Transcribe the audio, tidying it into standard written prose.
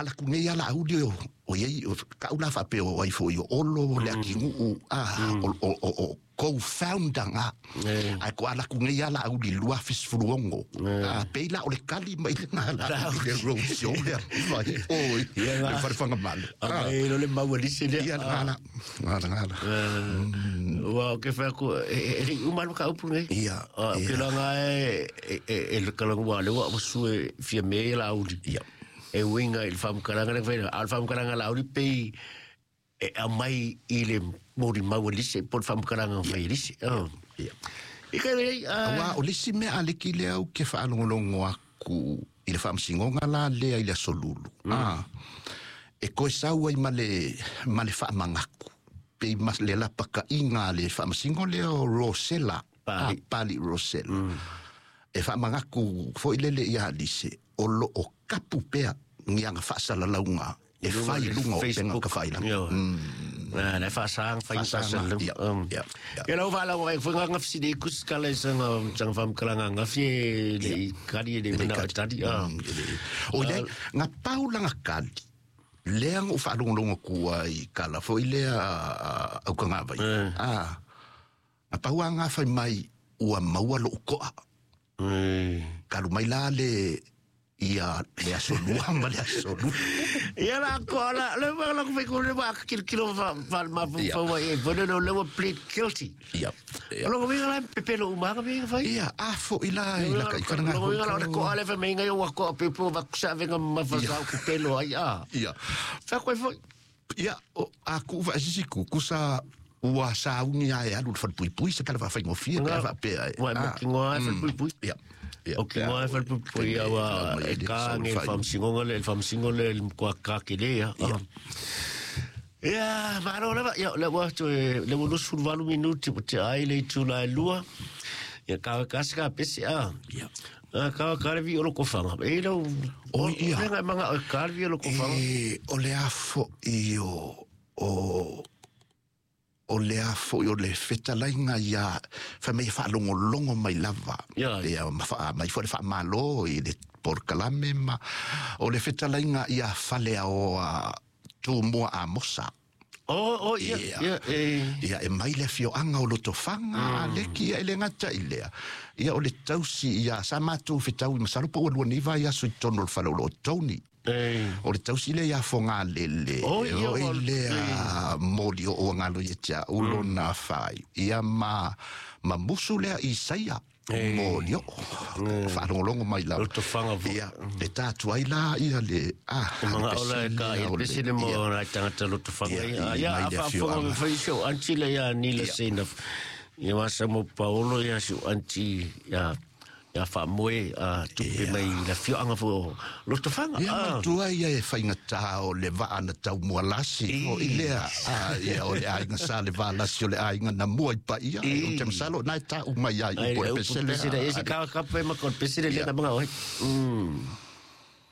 alaku nei ala auli o iai o ka'u la faapea o ai fo'i o Olo le atiguu a o co-founder ga ae ko alaku nei ala auli 2016 a pei la o le kali mai lena la i le road show lea fai oi le falefagamalo. Ai lo le maua lise lea. Ia gala gala gala. Ua ke fai aku e le uma lo ka upu nei. Ia. Ke la nga e le kala ngua le wa su e fia me la auli. Ia. E uinga i le faamatalaga le fai a le faamatalaga la auli pei e aumai i le moli maua lise po le faamatalaga fai lise. Ia. I ka lei Aua o le isi mea aleki lea ou ke faalogologo aku i le faamasinoga la lea i le aso Lulu. E koe sau ai ma le faamagaku. Pei ma le lapaka'iga a le faamasino lea o Rosella. Pali. Pali Rosella. E faamagaku fo'i lele ia Alise o lo'o kapu pea ni aga faasalalauga e fai i luga o upega tafailagi. Na faasanga fai Faasaga, faasalalau. ia, ia, ia. Ia lau faalago ai foi nga fisili kus kala sanga sanga faamatalaga gafi e le i kali e le mana o tali. O lea ga pau laga kali lea ga ou faalogologo kua i kala fo'i lea aukagavai a ga pau aga fai mai ua maua lo'u ko'a kalu mai la le ia le aso lua ma le aso lulu. Ia la ko la le ma la ko fai ko le ma kilo kilo fa fa ma fa wa e vono no le wa plead guilty. Ia. O lo winga la pepelo uma ka winga fai. Ia a fo'i la i la kai Lo winga la ko ale fa menga yo wa ko pepo va ku sa venga ma fa sa ku pelo ai a. Ia. Fa ko foi. Ia o a ku va sisi ku kusa ua sauni ae alu le falepuipui se tala faafaigofie pe a faapea e. Wa mo ki ngoa fa pui pui. Ia. Ia. O ki ngoa fa pui pui ia wa e ka nge famsingonga le famsingo le ko ka ke le ia. Ia, malo lava, ia, le ua toe, le ua 28 minuti po te ai le itu la e lua. Ia, ka kasi ka pesi a. Ia. Ka ka le vi o lo kofanga. E lau, O, ia. Lenga manga o ka le vi o lo kofanga. E, o le afo i o le afo i o le fetalaiga ia fai mai e faalogologo mai lava. Ia. Ia ma faa mai foi le faamālō i le porokalame ma o le fetalaiga ia faleaoa Tumua Amosa. O, ia, Ia. ia, e. Ia e mai le afioaga o Lotofaga aleki ia e le gata i lea. Ia o le tausi ia sa matou fetaui masalo po ua lua nei vai aso i totonu o le fale o loo Tony. E. O le tausi lea ia fogalele. O, ia, o o- lea moli o o galo ia te au lona fai. Ia ma musu lea i saia. Moli o. Faalogologo mai lava. Lotofaga fo. Ia, le tatu ai la ia le O mga ola e ka i pesi le mo na tangata Lotofaga. Ia, Ia, i ia, mai a le faafofoga afioaga. me fai si o anti le ia nila seina. Ia masa mo Paolo ia si o anti ia ia faamoe a tupe mai le afioaga fo o Lotofaga. Ia matua ia e faigata o le vaa na taumualasi o i lea ia o le aiga sa le valasi o le aiga na mua i paia o te masalo na e tāu mai ai Ai upu o le le upu pesele pesele e se ka ka pe ma ko pesele le na mga oi.